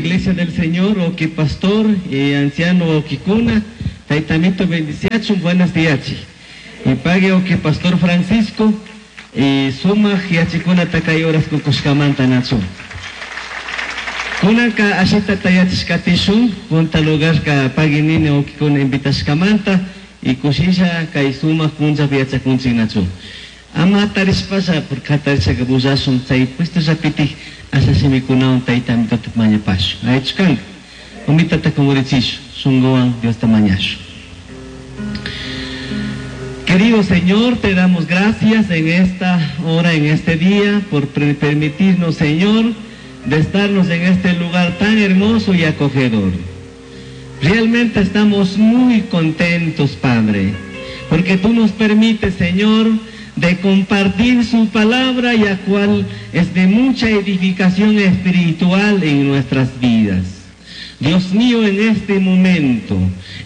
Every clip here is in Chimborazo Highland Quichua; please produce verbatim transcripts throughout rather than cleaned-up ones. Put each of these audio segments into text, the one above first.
Iglesia del Señor, wauqui pastor y anciano wauqicuna, Tayta Amito bendiciachun, buenos días. Y pagui wauqui pastor Francisco, y sumaj yachaykunata kay horas kukushkamanta nachu. Kunanka ashita tayachishkatishun, punta lugar ka pagui nini wauqicuna invitashkamanta, y kushisha kay sumaj punllapi yachakunchik nachu. Ama hatarishpalla, porque hatarishaka bullashun, chay puestollapitik asha shimikunawan Tayta Amitota mañapashun. Allichu kanka. Umitata kumurichishu, shunkuwan Diosta mañashun. Querido Señor, te damos gracias en esta hora, en este día, por permitirnos, Señor, de estarnos en este lugar tan hermoso y acogedor. Realmente estamos muy contentos, Padre, porque tú nos permites, Señor, de compartir su palabra, y a cual es de mucha edificación espiritual en nuestras vidas. Dios mío, en este momento,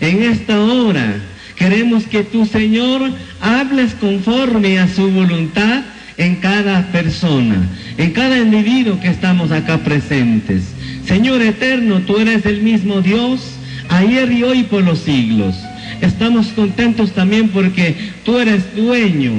en esta hora, queremos que tú, Señor, hables conforme a su voluntad en cada persona, en cada individuo que estamos acá presentes. Señor eterno, tú eres el mismo Dios, ayer y hoy por los siglos. Estamos contentos también porque tú eres dueño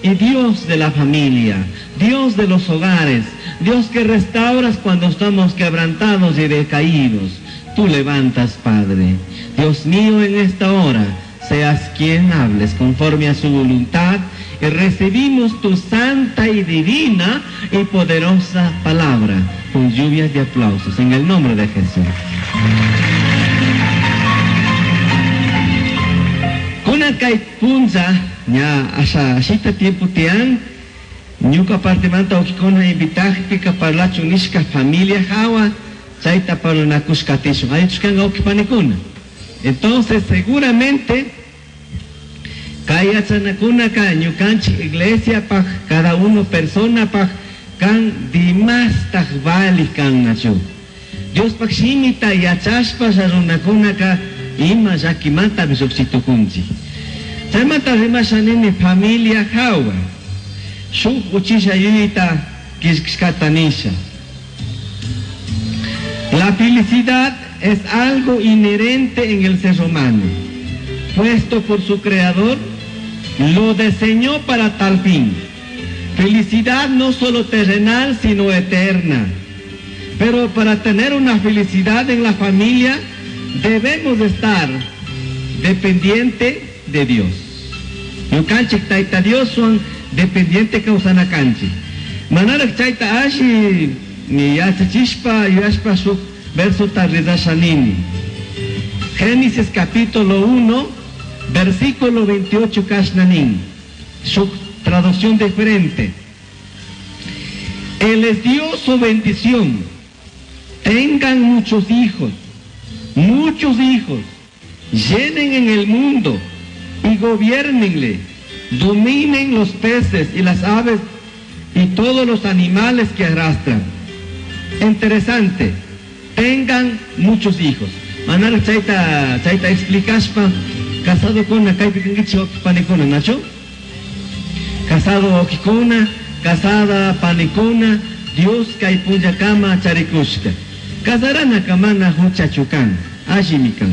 y Dios de la familia, Dios de los hogares, Dios que restauras cuando estamos quebrantados y decaídos. Tú levantas, Padre. Dios mío, en esta hora, seas quien hables conforme a su voluntad y recibimos tu santa y divina y poderosa palabra con lluvias de aplausos en el nombre de Jesús. Kunan kay punlla ña asha ashita tiempo tian ñuka partimanta wauqikuna invitajpika parlachun nishka familia hawa chayta parlanakushkatishun allichu kanka wauqi panikuna. Entonces seguramente kay yachanakunaka ñukanchik iglesiapaj cada uno personapaj kan dimastaj vali kannachu. Diospaj shimita yachashpa runakunaka ima llakimanta lluqshitukunchik. Chaymanta rimasha nini familia hawa shuk uchilla yuyayta killkashkata nisha. La felicidad es algo inherente en el ser humano, puesto por su creador, lo diseñó para tal fin. Felicidad no solo terrenal, sino eterna. Pero para tener una felicidad en la familia, debemos estar dependiente de Dios. Ñukanchik Tayta Dioswan dependiente kawsana kanchik. Manaraj chayta alli ni yachachishpa yuyashpa shuk versota rezasha nini. Génesis capítulo uno, versículo veintiocho kashna nin. Shuk traducción diferente. Él les dio su bendición. Tengan muchos hijos, muchos hijos, llenen en el mundo y gobiérnenle, dominen los peces y las aves y todos los animales que arrastran. Interesante, tengan muchos hijos. Manaraj chayta, chayta explicashpa, casado kuna kaypi kankichik wauqi panikuna, nachu? Casado wauqikuna, casada panikuna, Dios kay punllakama charikushka. Casaranaka mana huchachu kan, allimi kan.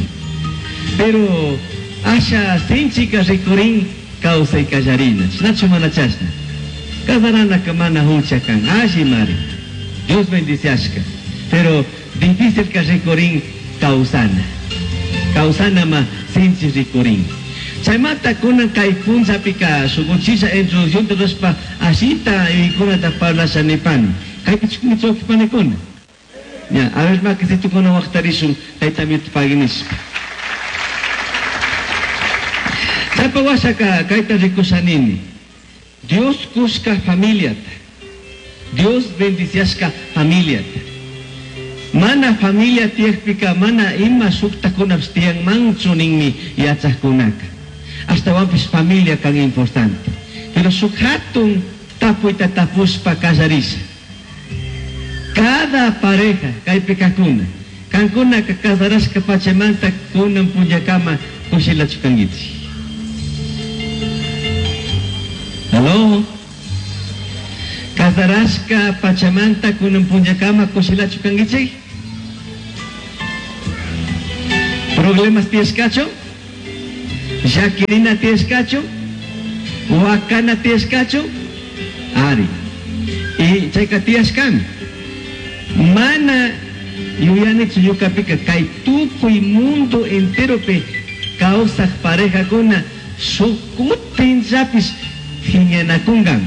Pero asha sinchika rikurin kawsay kallarina, nachu mana chashna. Casaranaka mana hucha kan, allimari. Dios bendiciashka. Pero difícil ka rikurin kawsana. Kawsana ma sinchi rikurin. Chaymanta kunan kay punllapika shuk uchilla introducción rurashpa ashita yuyaykunata parlasha nipani. Kaypi chikunkichik wauqi panikuna. Ya, a ver, makisitukuna waqtarishun Tayta Amito pagui nishpa. Chaypa washaka kayta rikusha nini. Dios kushka familiata. Dios bendiciashka familiata. Mana familia tiyakpika mana ima shuktakunapish tiyanmanchu ninmi yachajkunaka. Ashtawanpish familia kan importante. Pero shuk hatun tapuyta tapushpa kallarisha. Cada pareja kaypi kajkuna, kankunaka casarashka pachamanta kunan punllakama kushilachu kankichik. Aló? Casarashka pachamanta kunan punllakama kushilachu kankichik? Problemas tiyashkachu? Llaquirina tiyashkachu? Huacana tiyashkachu? Ari. Y chayka tiyashkami. Mana yuyanichu ñukapika kay tukuy mundo enteropi kawsaq parejakuna shuk kutinllapish phiñanakunkan.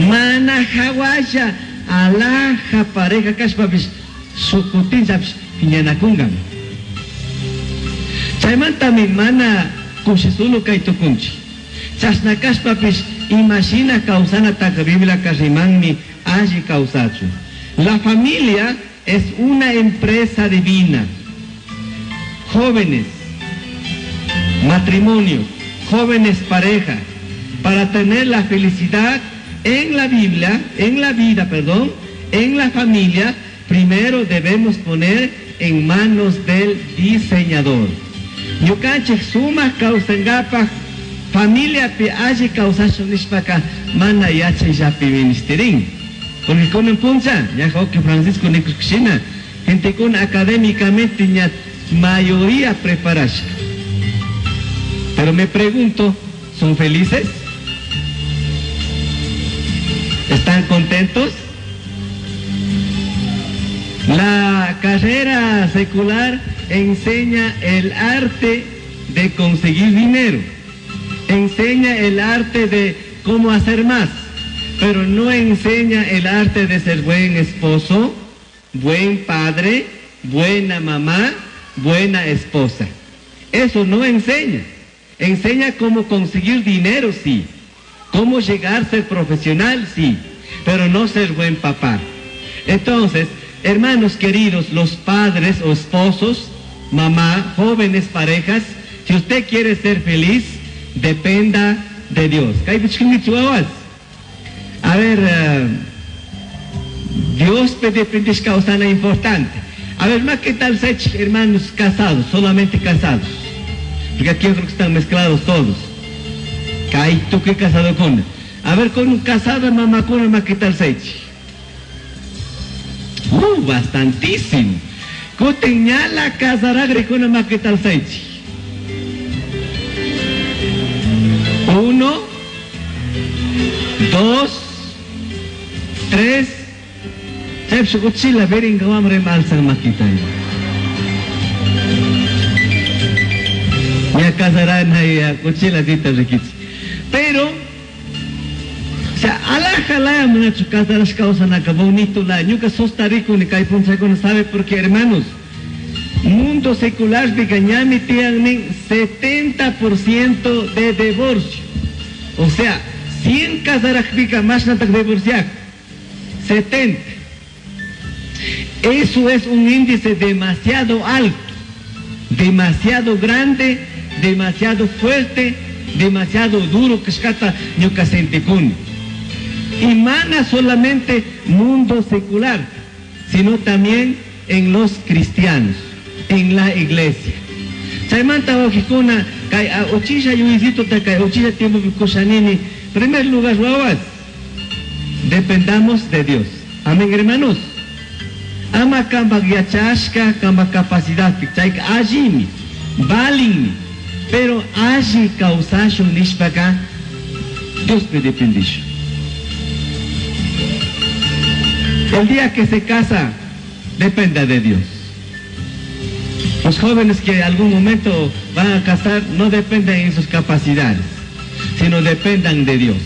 Mana hawalla alaja pareja kashpapish shuk kutinllapish phiñanakunkan. Chaymantami mana kushisulu kay tukunchik. Chashna kashpapish imashina kawsanataka Bibliaka rimanmi alli kawsachun. La familia es una empresa divina. Jóvenes, matrimonio, jóvenes pareja, para tener la felicidad en la Biblia, en la vida, perdón, en la familia, primero debemos poner en manos del diseñador. Ñukanchik sumak kawsankapaj familiapi alli kawsashun nishpaka mana yachayllapi ministerin. Porque kunan puncha, ya que Francisco nikushina, gente con académicamente ña mayoría preparashka. Pero me pregunto, ¿son felices? ¿Están contentos? La carrera secular enseña el arte de conseguir dinero, enseña el arte de cómo hacer más, pero no enseña el arte de ser buen esposo, buen padre, buena mamá, buena esposa. Eso no enseña. Enseña cómo conseguir dinero, sí. Cómo llegar a ser profesional, sí. Pero no ser buen papá. Entonces, hermanos queridos, los padres o esposos, mamá, jóvenes parejas, si usted quiere ser feliz, dependa de Dios. A ver, uh, Dios depende kawsana importante. A ver, más qué tal hermanos casados, solamente casados. Porque aquí yo creo que están mezclados todos. Tú qué casado con. A ver, con un casado mamá con más qué tal sech. Uh, bastantísimo. Kutin ñala casaragre con más qué tal sech. Uno, dos, tres. Chaypi uchila beringa wamra alzan makita. Ya casarana ya uchila dita rikichi. Pero, o sea, alaja la manachu casarash kawsanaka bonito la ñuka sostarikuni kay punchakuna sabe porque hermanos, mundo secular pika ñami tiyan nin setenta por ciento de divorcio. O sea, cien casarajpika mashnatak divorciak, setenta. Eso es un índice demasiado alto, demasiado grande, demasiado fuerte, demasiado duro que escata ñuka sentikuni. Y mana solamente mundo secular, sino también en los cristianos, en la iglesia. Chaymanta wawqikuna kay uchilla yuyisituta kay uchilla tiempo kushanini, primer lugar wawas, dependamos de Dios. Amén, hermanos. Ama kamba yachashka, kamba capacidad, chayka allimi, valinmi, pero alli kawsashun nishpaka Dios me dependisho. El día que se casa, dependa de Dios. Los jóvenes que en algún momento van a casar no dependen en sus capacidades, sino dependan de Dios.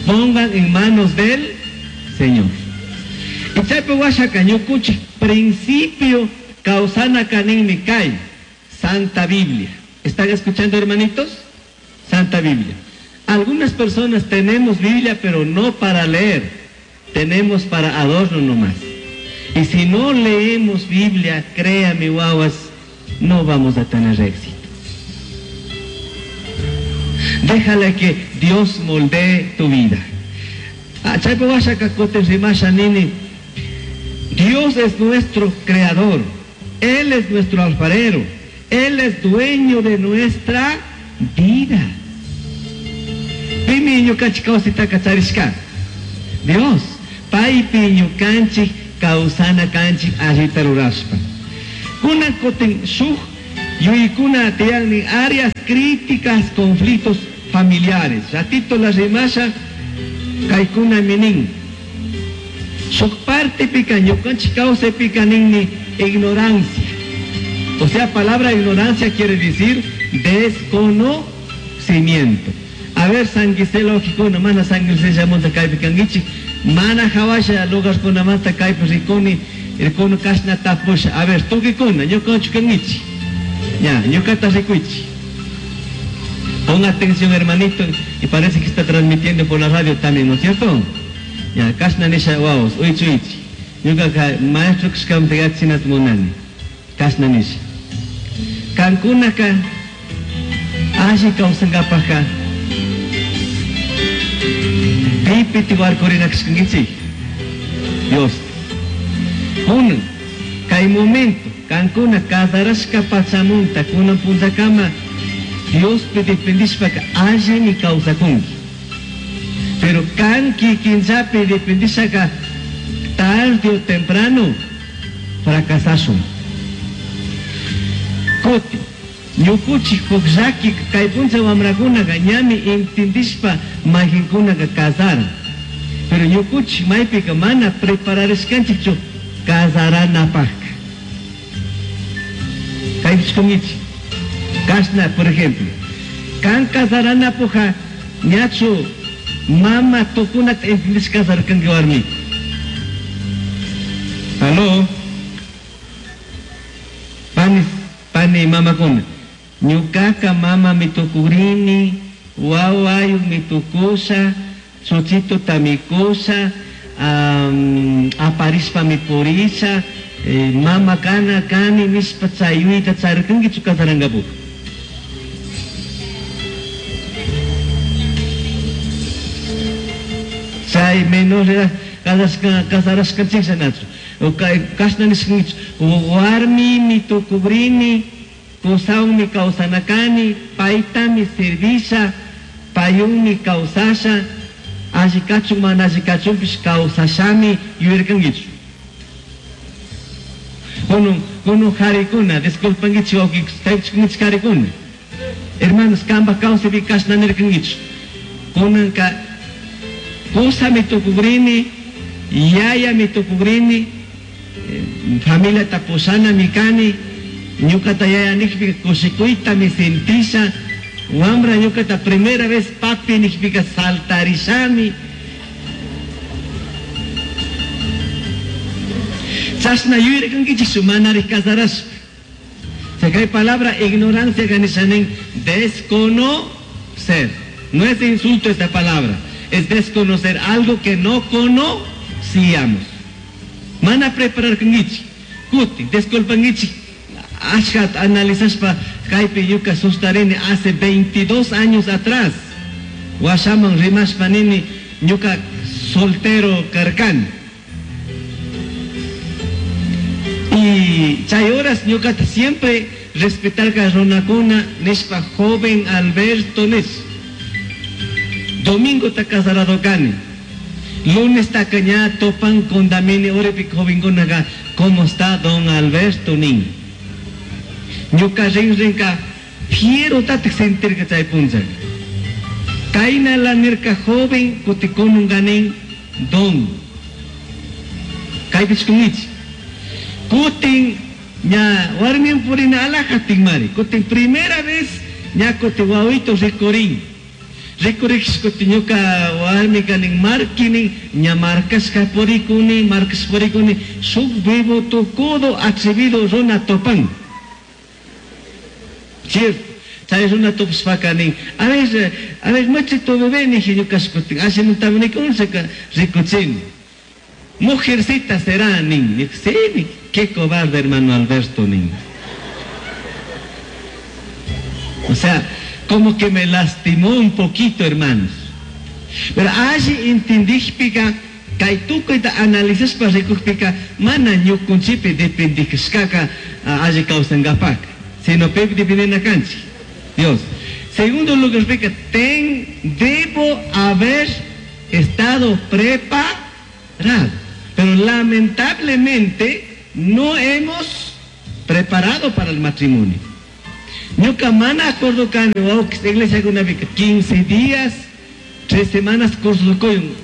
Pongan en manos del Señor. Y chaypi washaka ñukunchik principio kawsana kaninmi kay Santa Biblia. ¿Están escuchando, hermanitos? Santa Biblia. Algunas personas tenemos Biblia, pero no para leer. Tenemos para adorno nomás. Y si no leemos Biblia, créame, guaguas, no vamos a tener éxito. Déjale que Dios moldee tu vida. Dios es nuestro creador. Él es nuestro alfarero. Él es dueño de nuestra vida. Dios. Paypi ñukanchik kawsana kanchik allita rurashpa. Kunan kutin shuk yuyaykuna tiyan áreas críticas, conflictos familiares. Ratito la rimasha kaykuna minin. Shuk partepika ñukanchik kawsaypika ninmi ignorancia. O sea, palabra ignorancia quiere decir desconocimiento. A ver, San Giselo mana San Giselo kaypi kankichik, mana hawasha lugarkunamanta kaypi rikuni, rikuni kashna tapusha. A ver, tukikuna, ñukanchik kankichik. Ya, ñukata rikuichik. Pon atención, hermanito, y parece que está transmitiendo por la radio también, ¿no es cierto? Ya, kashna nisha wawas, uichi uichi. Ñukaka maestro kashkamanta yachinata munani. Kashna nisha. Kankunaka alli kawsankapakka pipi warkurina kashkankichik. Dios. Kunan, kay momento, kankuna kasarashka pachamunta, kunan punllakama, Diospi dependishpaka allimi kawsakunki. Pero kan kikinllapi dependishaka tarde o temprano fracasashun. Kuti, ñukuchik huk llaki kay punlla wamrakunaka ñami entendishpa mayqinkunaka kasaran. Pero ñukuchik maypika mana prepararishkanchikchu kasaranapaqka. Kaypish kunkichik. Kashna, por ejemplo, kan kasaranapuja ñachu mama tukunata entendish kasarkanki warmi. Aló. Pani, pani mamakuna. Ñukaka mama mitukurini, wawayuk mitukusha, chuchito tamikusha, um, aparishpa mipurisha, eh, mama kana kani nishpa chayuyta charirkankichu kasarankapuka. Chay menor edad kasarashka, kasarashkanchik nachu. Kashna nishkankichu, warmi mitukubrini, kusawanmi kawsanakani, paytami servisha, payunmi kawsasha, alli kachun mana alli kachunpish kawsashami yuyarkankichu. Kunan, kunan harikuna, disculpankichik wawqi, harikuna. Hermanos, kanpak kawsaypi kashna nirkankichu. Kunanka kusami tukukrini, yayami tukukrini, familiata pushanami kani, ñukata yaya nijpika kushikuytami sentisha, wambra ñukata primera vez papi nijpika saltarishami. Chashna yuyarkankichikchu manari kasarashpa. Chay kay palabra ignorancia ganishanin desconocer. No es insulto esta palabra, es desconocer algo que no conocíamos. Mana prepararkankichik, kuti, disculpankichik, ashkat analizashpa kaypi ñuka sustarini hace veintidós años atrás. Washaman rimashpa nini ñuka soltero karkani. Y chay horas ñukata siempre respetarka runakuna nishpa joven Alberto nish. Domingo ta casarado kani. Lunes ta ña topan condamini uripi jovenkunaqa, ¿cómo está don Alberto nin? Ñuka rinrinka fiero tatik sentirka chay punchaka. Kayna la nirka joven kutikununga nin don. Kaypich kungichik. Kutin ña warmin purina alajatin mari. Kutin primera vez ña kutin wawito rikurin. Rikuriksh kutin ñuka warmika nin markinin ña markashka purikuni, markash purikuni, shuk vivo tukudo atrevido runa topan. Cierto. Chay runa topashpaka nin, a ver, a ver, machito bebé niji ñuka kutin, ashimuntami nikunshaka rikuchini. Mujercita será nin, sí, nin. Qué cobarde hermano Alberto nin. O sea, como que me lastimó un poquito, hermanos. Pero allí entendijpika, kay tukuyta analizashpa rikujpika, mana ñukunchipi dependijshkaka alli kawsankapak, sino pipi dependena kanchik. Dios. Segundo lugar, pika, ten, debo haber estado preparado. Pero lamentablemente no hemos Preparado para el matrimonio. Ñuka mana acuerdo kani iglesiakunapika quince días, tres semanas curso kuyun.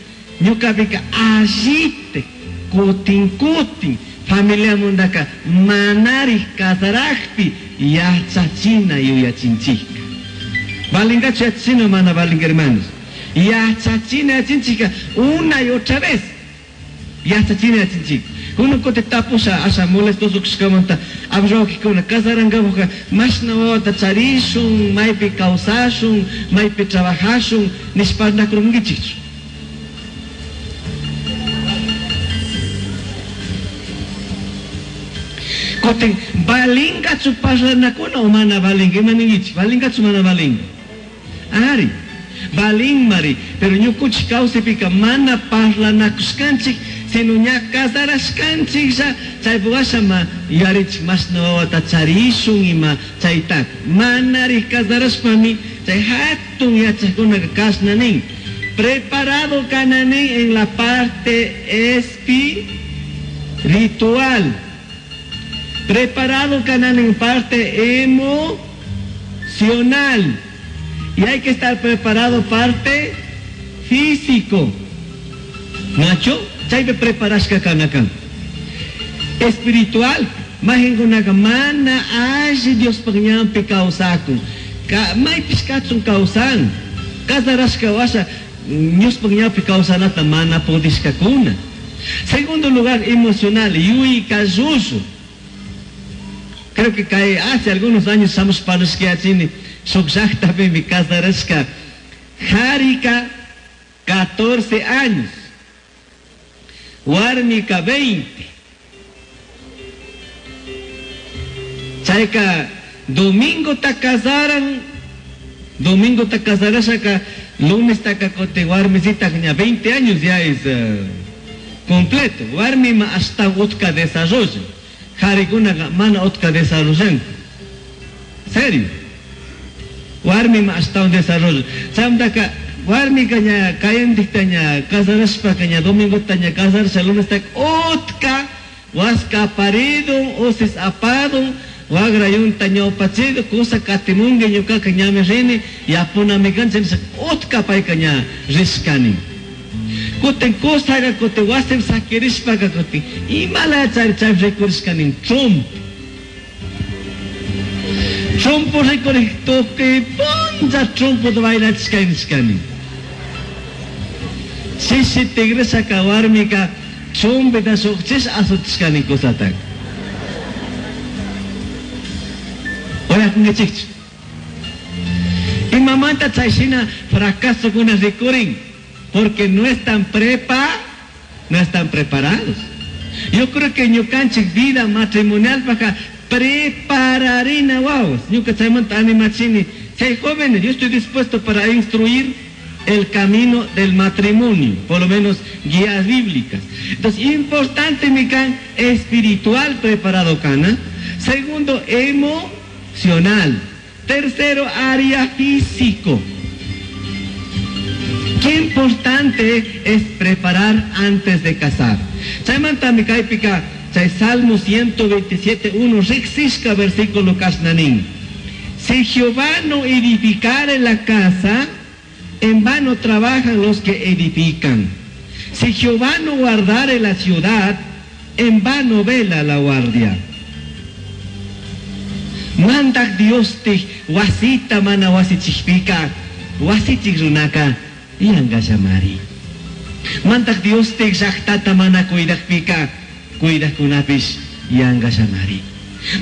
Ñukapika allite kutin kutin familiamundaka manari kasarakpi yachachina yuyachinchika. Valingachu yachachina mana valinga, hermanos? Yachachina yachinchika una y otra vez. Yachachina yachinchika. Uno kote tapusha asha molestoso kashkamanta abrawakikuna kasarankapukka mashna wawata charishun, maypi kawsashun, maypi trabajashun nishpa nakurunkichikchu. Koten valingachu parlanakuna o mana valinga, ima ninkichik? Valingachu mana valinga? Ari, valinmari, pero ñukunchik kawsaypika mana parlanakushkanchik, sino ña kasarashkanchiklla, chaypi washama yarichik mashna wawata charishun ima chaytaka. Manari kasarashpami chay hatun yachakkunaka kashna nin. Preparado kana nin en la parte espiritual. Preparado kana en parte emocional. Y hay que estar preparado parte físico. Nacho, chaypi preparashka kanakan. Espiritual, mahinkunaka mana alli Diospaj ñanpi kawsakun. Ka, maypish kachun kawsan. Kasarashka washa Diospaj ñanpi kawsanata mana pudishkakuna. Segundo lugar, emocional, yuyka llullu. Creo que cae hace algunos años estamos parashkiachini, shuk llaqtapimi kasarashka Jarika catorce años, warmika veinte. Chayka domingo ta casaran, domingo ta casarashaka, lunes ta kakote warmisita ña veinte años ya es, eh, completo. Warmima hasta utka desarrollo. Jarikunaqa mana utka desarrollan. Serio. Warmima hasta un desarrollo. Chamtaka warmika ña kayandikta ña kasarashpaka ña domingota ña kasarasha lunesta utka waska aparidun, usis apadun, wagra yunta ñawpachidu, kusa katimungi ñukaka ñami rini, yapunami kancha nisha utka payka ña rishkani. Kutin kusaga kutin wasim sakirishpaka kutin imala chari chay rikurishkani trump. Trumpo rikurik tukuy punlla trumpo bailachishkani nishkani. Shishi tigreshaka warmika chumpita shukchish asutishkani kusataka. Oyakunkichikchu. Imamanta chayshina fracasokuna rikurin. Porque no están prepa, no están preparados. Yo creo que ñukanchik vida matrimonial paja prepararina wawas. Ñuka chaymanta animachini. Si hay jóvenes, yo estoy dispuesto para instruir el camino del matrimonio, por lo menos guías bíblicas. Entonces, importante mi can espiritual preparado cana. Segundo, emocional. Tercero, área físico. Qué importante es preparar antes de casar. Chaymanta mi kaypika, chay Salmo ciento veintisiete, uno, riqsishka versículo kashnanin. Si Jehová no edificare la casa, en vano trabajan los que edifican. Si Jehová no guardare la ciudad, en vano vela la guardia. Mandak Dios te wasita mana wasichikpika, wasichik runaka, yanga llamari. Mandak Dios te llaqtata mana cuidakpika, cuidakunapish yanga llamari.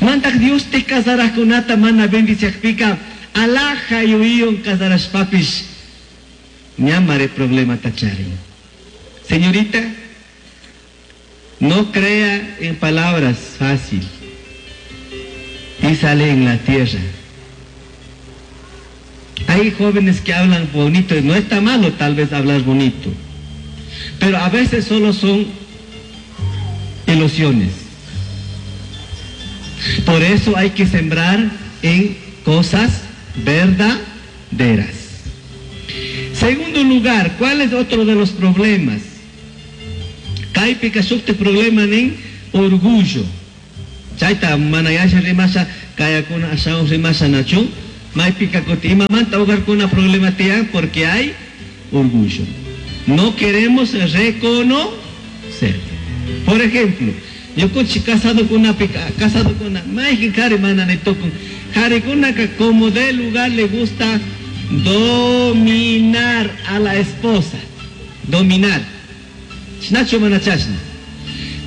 Mandak Dios te casarakunata mana bendiciakpika, alaja yuiyon casarashpapish, ñamare problema tachari. Señorita, no crea en palabras fácil. Y sale en la tierra. Hay jóvenes que hablan bonito, y no está malo tal vez hablar bonito, pero a veces solo son ilusiones. Por eso hay que sembrar en cosas verdaderas. Segundo lugar, ¿cuál es otro de los problemas? Kaypika shukti problema nin orgullo. Chayta mana yasha rimasha kayakuna ashawan rimasha nachu. Maypika kuti imamanta hogarkuna problema tiyan porque hay orgullo. No queremos reconocer. Por ejemplo, ñukunchik casado kunapika, casado kuna, mayqin qhari mana ni tukun. Qharikunaka como de lugar le gusta dominar a la esposa. Dominar. Chashnachu mana chashna.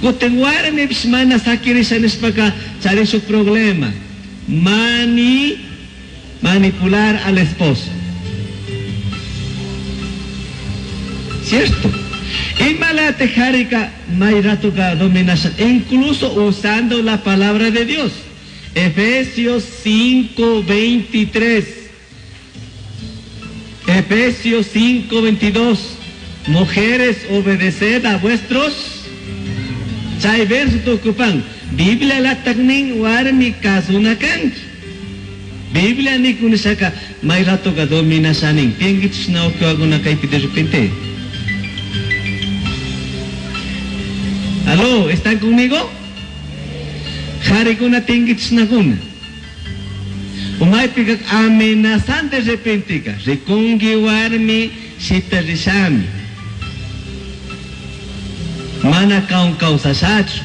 Kutin warmipish mana sakirisha nishpaka charin problema. Mani, manipular al esposo. ¿Cierto? Imalate jarika mayratuka dominasha, incluso usando la palabra de Dios. Efesios cinco veintitrés. Efesios cinco veintidós. Mujeres, obedeced a vuestros. Chay verso tukupan. Biblia la taknin warmi kasunakanki. Biblia ni kunishaka mayratuka dominashanin. Tiengichis na ukiwaguna kaypi de repente. Aló, ¿están conmigo? Jarikuna tinguichnakuna. Umaypika amenazan de repente, rikungi warmi shita rishami. Mana kaun kausashachu.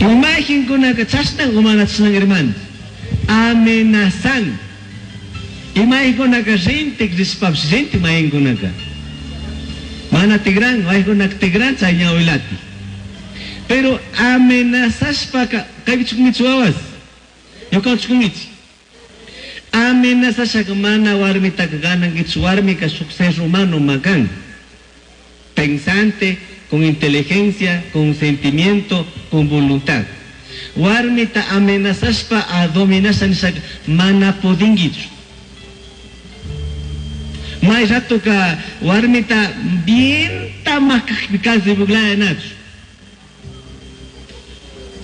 Imaginkunaka chashnan umana chashnan hermano. Amenazan. Imaginkunaka rintik rishpapsh rintik mahinkunaka. Mana tigran, waykuna tigran chay ñawilati. Pero amenazashpaka, kaypi chukungichi wawas. Ñuka chukungichi. Amenazashaka mana warmitaka ganankichu, warmika shuk ser humano makan. Pensante, con inteligencia, con sentimiento, con voluntad. Warmita amenazashpa a dominasha nishaka mana pudingichu. May rato ka warmita bien tamakajpi casi buglaya nachu.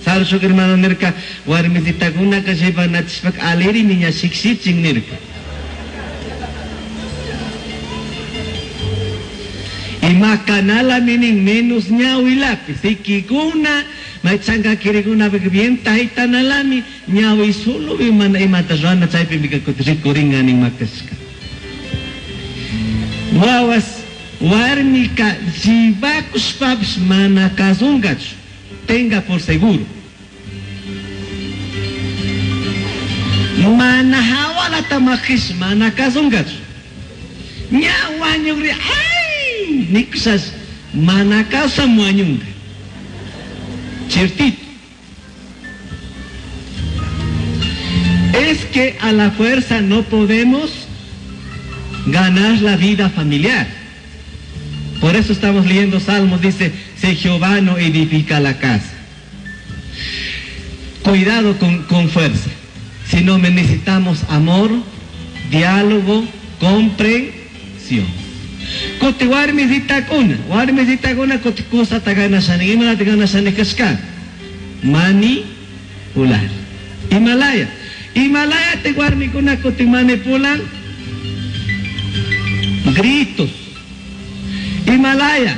Sarshuk hermano nirka warmititakuna ka llevanachishpak aleri niña shiksichin nirka. Y macanala minin menos ñawilapi. Sikikuna, may chanka kirikuna bien tahitanalami ñawi solo imana imata rana chaypi mika rikuringa nin makashka. Wawas warmika jibakushpapish mana kasunkachu. Tenga por seguro. Mana hawalata makish mana kasunkachu. Ña wañukri ay nikusas mana kawsam wañunka. Ciertito. Es que a la fuerza no podemos ganar la vida familiar. Por eso estamos leyendo Salmos, dice, si Jehová no edifica la casa. Cuidado con, con fuerza. Si no necesitamos amor, diálogo, comprensión. Kote warmi zitakuna, warmi zitakuna kote cosa tagana shani, imala tagana shani kashka. Manipular. Himalaya. Himalaya te warmikuna kote manipulan. Gritos. Himalaya.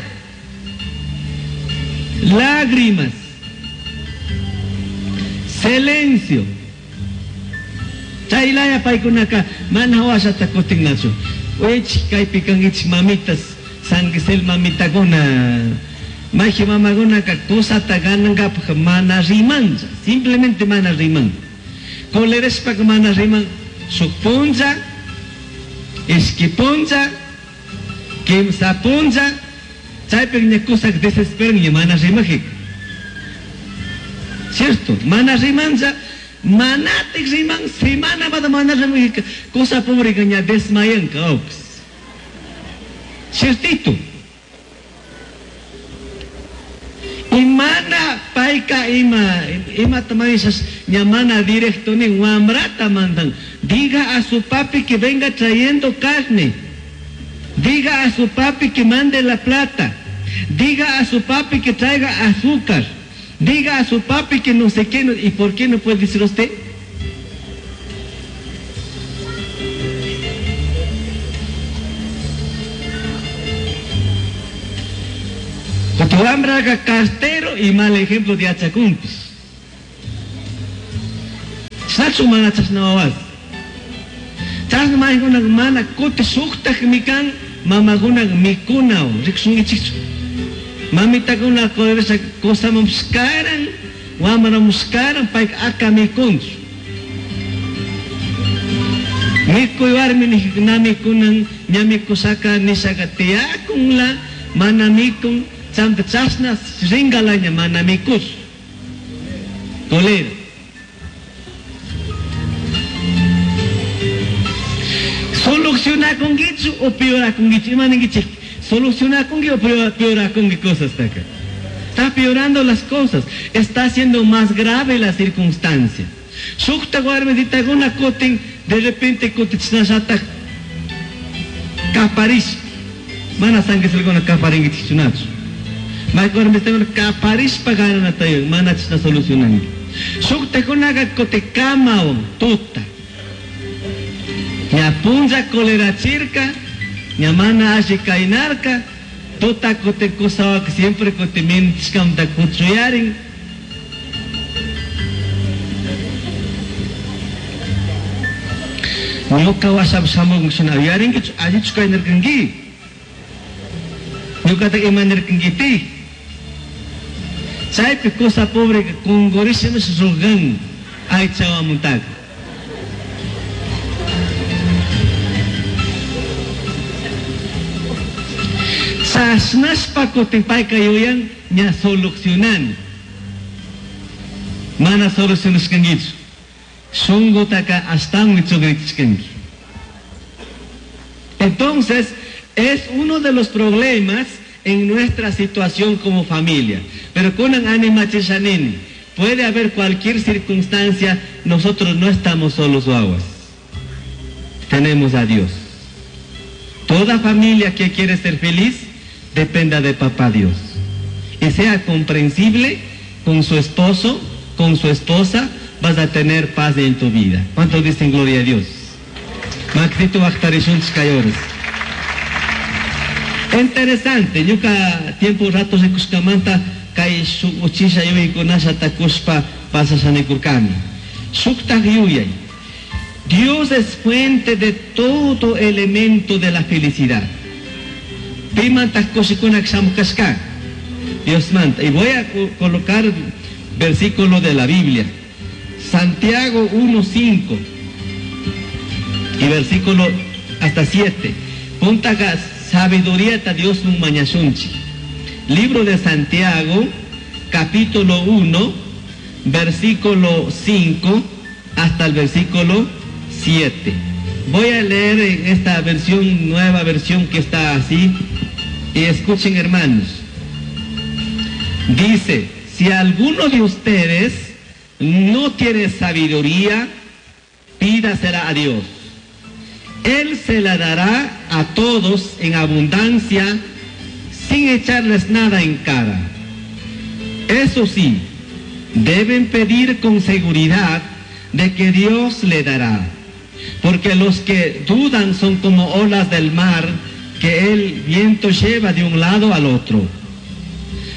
Lágrimas. Silencio. Chaylaya paykunaka mana washata kutinnachu. Wech kaypi kankichik mamitas, sanguisel mamitakuna. Maji mamakunaka kusata ganankapaj mana rimancha, simplemente mana riman. Colerashpaka mana riman, shuk puncha, ishki puncha, kimsa puncha, chaypik ña kusak desesperan ña mana rimajik. Cierto, mana rimancha, manatik riman, semana bada mana rimajik, cosa pobre que ña desmayanka, ops. Ciertito. Y mana paika ima, ima tamaisas, ña mana directo ni wamrata mandan. Diga a su papi que venga trayendo carne. Diga a su papi que mande la plata. Diga a su papi que traiga azúcar. Diga a su papi que no sé qué. ¿Y por qué no puede decir usted? Kutin wambraka cartero y mal ejemplo de yachakunpish. Chashnachu mana chashna wawas. Chashna maykuna mana kuti shuktakmi kan mamakuna mikunawan rikushunkichikchu. Mamitakuna colerasha kusamanpish karan, wambramanpish karan, payka aka mikunchu. Mikuy warmi nijika na mikunan, ña mikushaka nishaka tiyakunla, mana mikun, chamta chashna rinkalaña mana mikush. Colera. Solucionakunkichu o peorakunkichu? Ima ninkichik? Solucionakunki o peorakunki cosas taka. Está peorando las cosas, está haciendo más grave la circunstancia. Shukta warmititakuna kutin de repente kutichinashatak kaparish. Mana sanguisulkuna kaparinkichikchunachu. Mayqa warmitakuna kaparishpa gananatayo mana chishna solucionanki. Shuktakunaka kutikamawan tuta. Ña punlla colerachirka, ña mana alli kaynarka, tuta kutin kusawaka siempre kutimintishkamta kuchuyarin. Ñuka washapi shamunkishina uyarinkichu allichu kaynarkanki. Ñukata imanirkankiti. Chaypi kusa pobre kunkurishimish rugan aychawamuntaka. Chashnashpa kutin payka yuyan ña solucionani. Mana solucionashkankichu. Shunqutaka ashtawanmi chugrichishkanki. Entonces, es uno de los problemas en nuestra situación como familia. Pero con ánima chishanini, puede haber cualquier circunstancia, nosotros no estamos solos o aguas. Tenemos a Dios. Toda familia que quiere ser feliz, dependa de papá Dios. Y sea comprensible con su esposo, con su esposa, vas a tener paz en tu vida. ¿Cuántos dicen gloria a Dios? Maxito Bactarishunch Kayores. Interesante, ñuka tiempo rato rikushkamanta kay shuk uchilla yuyaykunasha takushpa pasashanikurkani. Shuktaj yuyay. Dios es fuente de todo elemento de la felicidad. Pimantaj kushikunak shamushkashka. Dios manta. Y voy a colocar versículo de la Biblia. Santiago uno cinco y versículo hasta siete. Punta sabiduría ta Dios nun mañashunchi. Libro de Santiago, capítulo uno, versículo cinco hasta el versículo siete. Voy a leer en esta versión, nueva versión que está así. Y escuchen, hermanos. Dice, si alguno de ustedes no tiene sabiduría, pídasela a Dios. Él se la dará a todos en abundancia, sin echarles nada en cara. Eso sí, deben pedir con seguridad de que Dios le dará. Porque los que dudan son como olas del mar que el viento lleva de un lado al otro.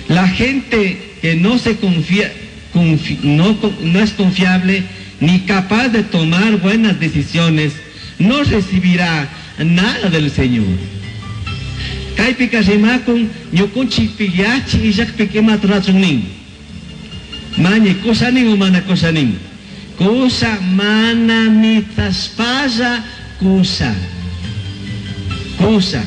La gente que no se confía, confi-, no, no es confiable ni capaz de tomar buenas decisiones, no recibirá nada del Señor. Kaypika rimakun ñukunchikpi yachi illakpi imata rurachun nin. Mañi kusanin o mana kusanin. Kusa mana mitaspalla kusa. Kusa.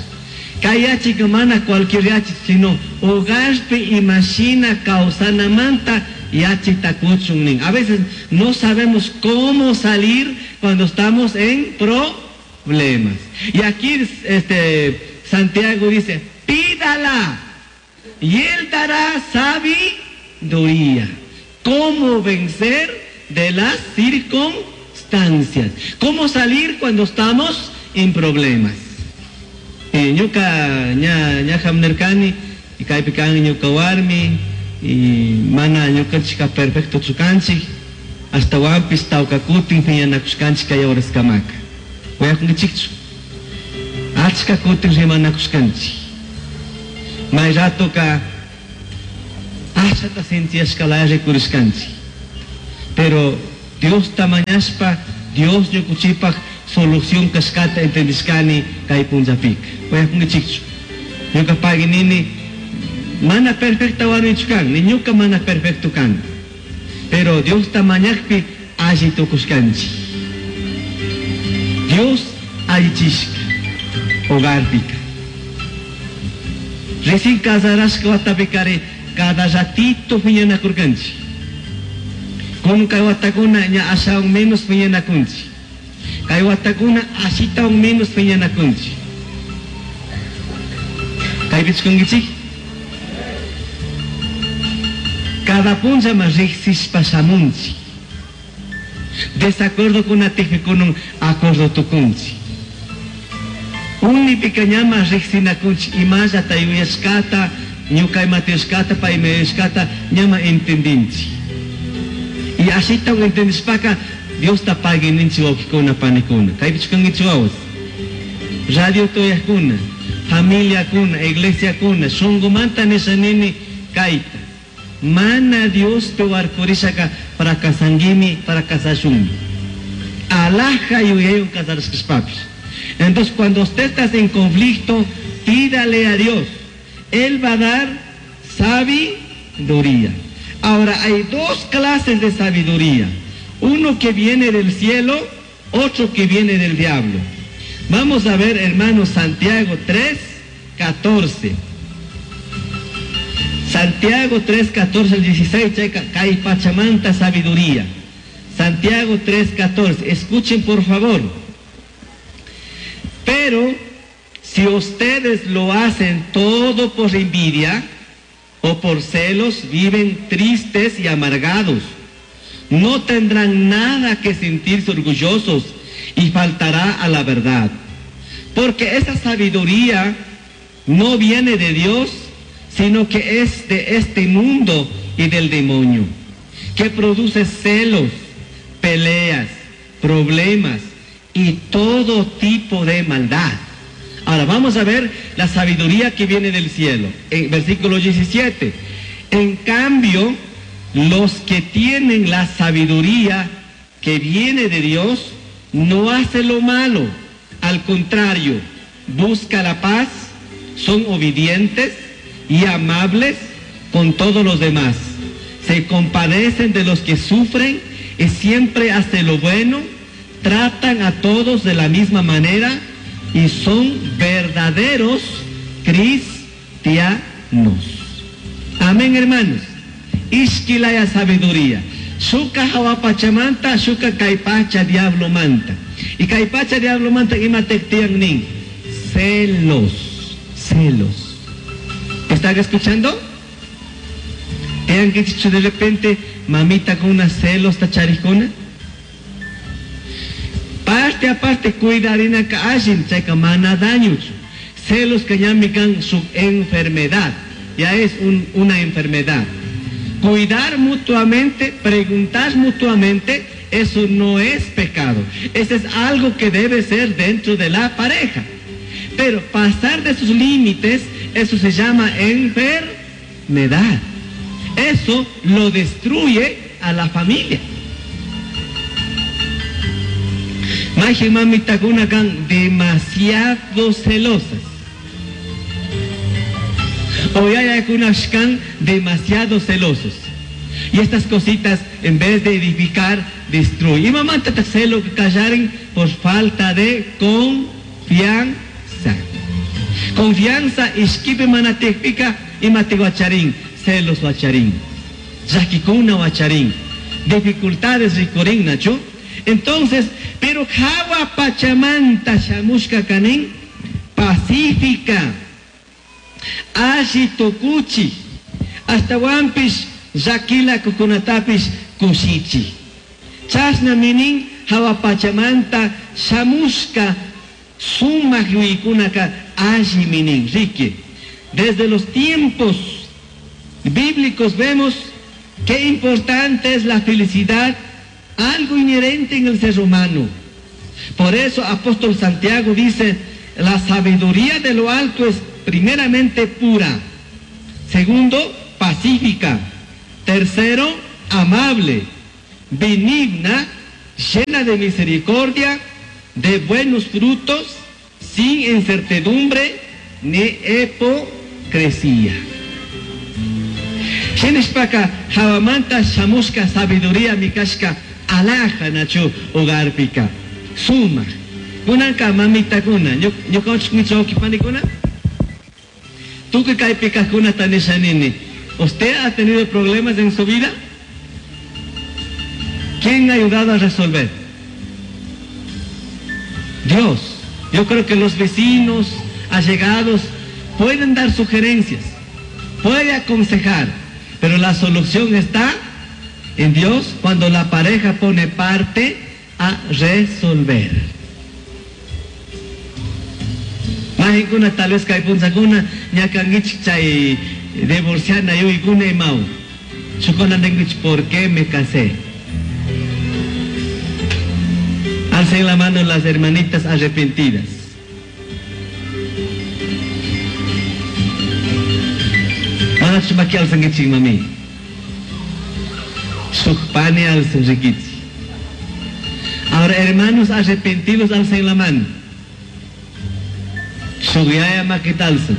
Kay yachika mana cualquier yachi, sino hogarpi imashina kawsanamanta yachita kuchun nin. A veces no sabemos cómo salir cuando estamos en problemas. Y aquí este, Santiago dice, pídala y él dará sabiduría. ¿Cómo vencer de las circunstancias? ¿Cómo salir cuando estamos en problemas? Eh, ñuka ña, ña hamnerkani, y kaypi kan ñuka warmi, y mana ñukanchika perfecto chukanchik, hasta wampis tawka kutin piñanakushkanchik kay horas kamaka. Wayakunkichikchu. Achka kutin rimanakushkanchik. May rato ka Ashata sinchiyashkalaya rikurishkanchik. Pero Diosta mañashpa, Dios ñukuchipaj solución kashkata entendishkani kay punllapika. Uyakunkichikchu. Ñuka pagui nini, mana perfecta warmichu kan, ni ñuka mana perfecto kan. Pero Diosta mañakpi alli tukushkanchik. Dios allichishka hogarpika. Recién casarashka watapikari cada ratito piñanakurkanchik. Con kay watakuna ña ashawan menos piñanakunchik. Kay watakuna ashitawan menos piñanakunchik. Kaypichu kankichik? Cada punlla riqsishpa shamunchik. Desacuerdo kunatikpi acuerdo tukunchik. Unipika ñama riqsinakunchik imallata yuyashkata, ñuka imata yuyashkata, pay ima yuyashkata ñama entendinchik. Y ashitawan entendishpaka Diosta pagui ninchik wawqikuna panikuna. Kaypichu kankichik wawas? Radio tuyakuna, familiakuna, iglesiakuna, shunqumanta nisha nini kayta. Mana Diospi warkurishaka fracasanguimi, fracasashunmi. Alhaja yuyaywan casarashkashpapish. Entonces, cuando usted está en conflicto, pídale a Dios. Él va a dar sabiduría. Ahora, hay dos clases de sabiduría. Uno que viene del cielo, otro que viene del diablo. Vamos a ver, hermanos, Santiago tres, catorce. Santiago tres, catorce al dieciséis, checa, kay pachamanta sabiduría. Santiago tres, catorce. Escuchen, por favor. Pero si ustedes lo hacen todo por envidia o por celos, viven tristes y amargados. No tendrán nada que sentirse orgullosos y faltará a la verdad. Porque esa sabiduría no viene de Dios, sino que es de este mundo y del demonio, que produce celos, peleas, problemas y todo tipo de maldad. Ahora vamos a ver la sabiduría que viene del cielo. En versículo diecisiete. En cambio, los que tienen la sabiduría que viene de Dios, no hacen lo malo. Al contrario, busca la paz, son obedientes y amables con todos los demás. Se compadecen de los que sufren y siempre hacen lo bueno, tratan a todos de la misma manera y son verdaderos cristianos. Amén, hermanos. Ishkilaya sabiduría. Shuka hawapachamanta, shuka kaypacha diablo manta. Y kaypacha diablo manta imatektian nin. Celos, celos. ¿Están escuchando? Tean que dicho de repente, mamita con unas celos tacharicona. Parte aparte, cuidarina ka allin, chayka mana daño. Celos que llamican su enfermedad. Ya es un, una enfermedad. Cuidar mutuamente, preguntar mutuamente, eso no es pecado. Eso es algo que debe ser dentro de la pareja. Pero pasar de sus límites, eso se llama enfermedad. Eso lo destruye a la familia. Maje mamitakuna kan demasiado celosas. O yayakuna kan demasiado celosos. Y estas cositas, en vez de edificar, destruyen. Y mamá te celo que callaren por falta de confianza. Confianza, ishkipe manatekpika, imate guacharín, celos guacharín, yakikuna guacharín, dificultades ricorín, nacho. Entonces, pero jawa pachamanta shamushka kanin, pacífica, ashi tukuchi, hasta wampish, yakila kukunatapish kushichi. Chasna minin, jawa pachamanta shamushka, sumak yuykunaka alli minin, rique. Desde los tiempos bíblicos vemos qué importante es la felicidad, algo inherente en el ser humano. Por eso apóstol Santiago dice, la sabiduría de lo alto es primeramente pura, segundo, pacífica, pacífica. Tercero, amable, benigna, llena de misericordia, de buenos frutos, sin incertidumbre ni hipocresía. Shinashpaka hawamanta shamushka sabiduría mikashka alhaja nachu hogarpika. Suma. Kunanka mamitakuna, ñukanchik wawqipanikuna. Tukuy kaypi kajkunata nishanini. ¿Usted ha tenido problemas en su vida? ¿Quién ha ayudado a resolver? Dios. Yo creo que los vecinos, allegados, pueden dar sugerencias, pueden aconsejar, pero la solución está en Dios cuando la pareja pone parte a resolver. Mahinkuna tal vez kay punllakuna ñakankichik chay divorciana yuyaykuna imawan. Shukuna ninkichik ¿por qué me casé? Alcen la mano las hermanitas arrepentidas. Manachu maki alzankichik mami. Shuk pani alzan rikichik. Ahora hermanos arrepentidos alcen la mano. Shuk yaya makita alzan.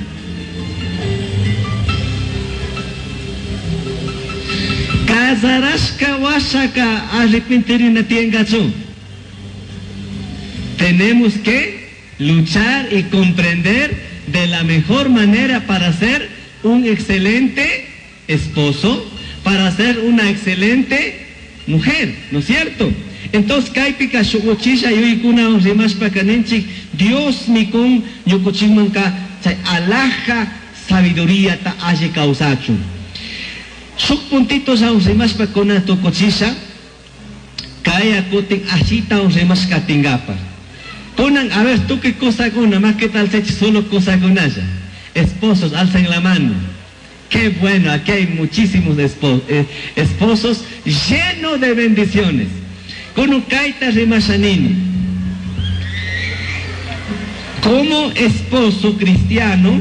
Casarashka washaka arrepentirina tiengachu. Tenemos que luchar y comprender de la mejor manera para ser un excelente esposo, para ser una excelente mujer, ¿no es cierto? Entonces, kaypika shukuchisha yuyaykuna rimashpaka ninchik, Dios mikun ñukuchikmanka chay alhaja sabiduría ta alli kawsachun. Shuk puntito rimashpa kuna tukuchisha, kaya kutin ashita rimashka tingapa. Kunan, a ver, tú qué cosa kuna, más que tal sechi solo cosa kunalla. Esposos, alcen la mano. Qué bueno, aquí hay muchísimos espo-, eh, esposos llenos de bendiciones. Kunu kaita rimashanini. Como esposo cristiano,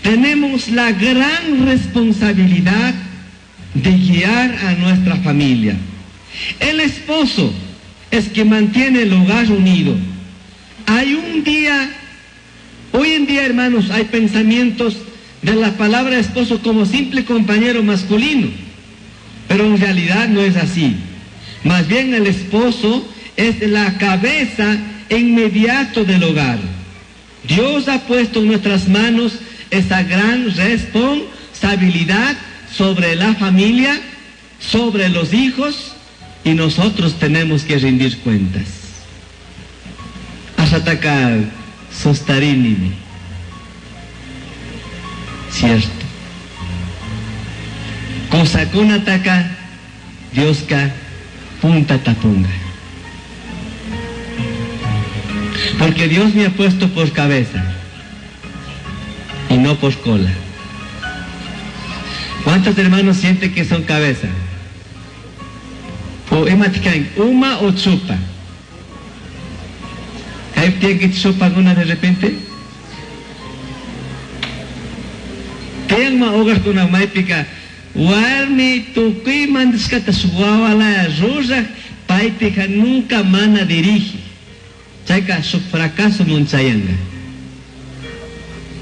tenemos la gran responsabilidad de guiar a nuestra familia. El esposo es que mantiene el hogar unido. Hay un día, hoy en día, hermanos, hay pensamientos de la palabra esposo como simple compañero masculino, pero en realidad no es así. Más bien el esposo es la cabeza inmediato del hogar. Dios ha puesto en nuestras manos esa gran responsabilidad sobre la familia, sobre los hijos, y nosotros tenemos que rendir cuentas. Ashataka sostarinimi. Cierto. Kosakunataka Dioska punta tapunga. Porque Dios me ha puesto por cabeza y no por cola. ¿Cuántos hermanos sienten que son cabeza? O ematican, uma o chupa. ¿Hay quien que chupa alguna de repente? Tiyan hogar con una maipica. Warmi tukuy mandishkata suwawala ruraj paypika nunca mana dirige. Chayka su fracaso monchayanga.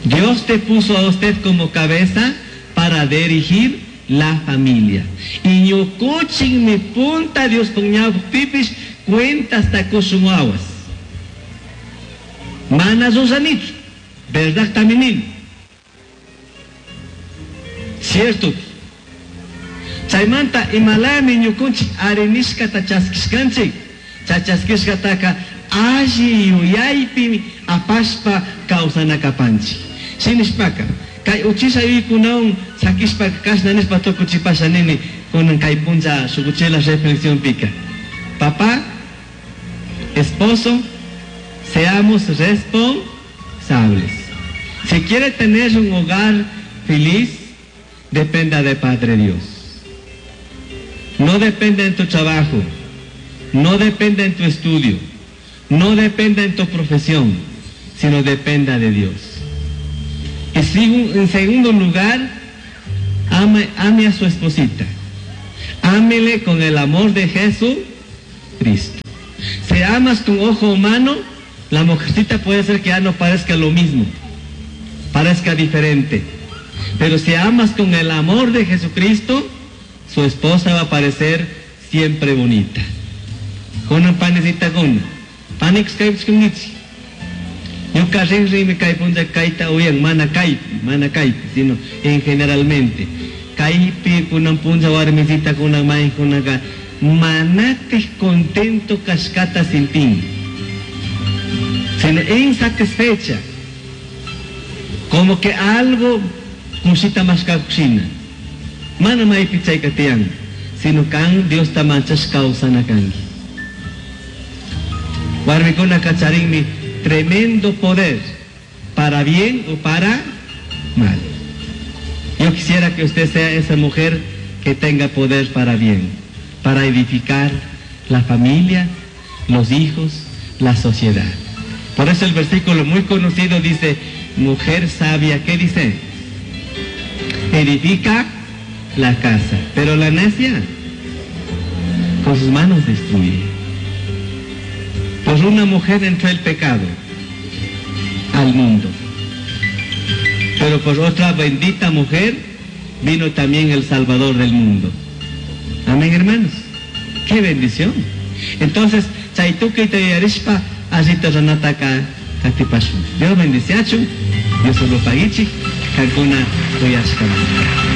Dios te puso a usted como cabeza para dirigir la familia. Y ñukuchin mi punta Dios puñao pipis cuentas takusumawas. Mana susanit, verdad también. Cierto. Chaymanta imalami ñukunchik arinishkata chaskishkanchik. Chachaskishkataka alli yuyaypi apashpa kawsanakapanchik. Shinishpaka kay uchisha yuykunawan sakishpa kashna nishpa tukuchipasha nini kunan kay punlla shukuchila reflexión pika. Papá, esposo, seamos responsables. Si quiere tener un hogar feliz, dependa de Padre Dios. No depende en tu trabajo, no depende en tu estudio, no depende en tu profesión, sino dependa de Dios. Y en segundo lugar, Ame, ame a su esposita. Ámele con el amor de Jesucristo. Si amas con ojo humano, la mujercita puede ser que ya no parezca lo mismo, parezca diferente. Pero si amas con el amor de Jesucristo, su esposa va a parecer siempre bonita. Kuna panicita kuna. Panik Ñuka rinrinmi kay punlla kayta uyan, mana kaypi, mana kaypi, sino en generalmente. Kaypi kunan punlla warmisita kunan maykunaka manatik contento kashkata sintin. Sino insatisfecha. Como que algo kushita mashkakushina. Mana maypi chayka tiyan, sino kan Diosta manchash kawsana kanki. Warmikuna kacharinmi tremendo poder, para bien o para mal. Yo quisiera que usted sea esa mujer que tenga poder para bien, para edificar la familia, los hijos, la sociedad. Por eso el versículo muy conocido dice, mujer sabia, ¿qué dice? Edifica la casa, pero la necia con sus manos destruye. Por una mujer entró el pecado al mundo. Pero por otra bendita mujer vino también el Salvador del mundo. Amén, hermanos. Qué bendición. Entonces, chaytukuyta yuyarishpa, allita runataka katipashun. Dios bendiciachun, Dios lo paguichik, kankuna uyashkamanta.